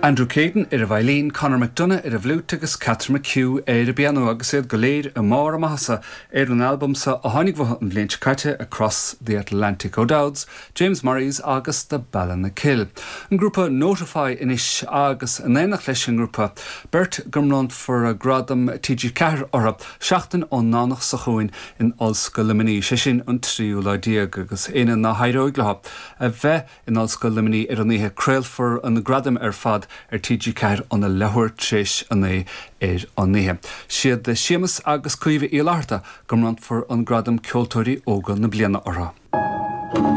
Andrew Caden ar an veidhlín, Conor McDonagh ar an bhfliúit agus Catherine McHugh ar an bpianó agus iad go léir i mbarr a maitheasa ar an albam seo a tháinig uathu an bhliain seo caite, Across the Atlantic O'Dowds, James Murrays agus The Ballinakill. An grúpa Notify anois agus in éineacht leis an ngrúpa, beirt go mbronnfar Gradam TG4 orthu seachtain ón nDomhnach seo chugainn in Ollscoil Luimnigh, sé sin an tríú lá déag, agus éinne ná héireoidh leo a bheith In Ollscoil Luimnigh ar an oíche, craolfar na gradaim ar fad ar TG4 óna leathuair tar éis a 9 ar an oíche. Siad Séamus agus Caoimhe Uí Fhlatharta go mbronnfar an gradam Ceoltóirí Óga na Bliana orthu.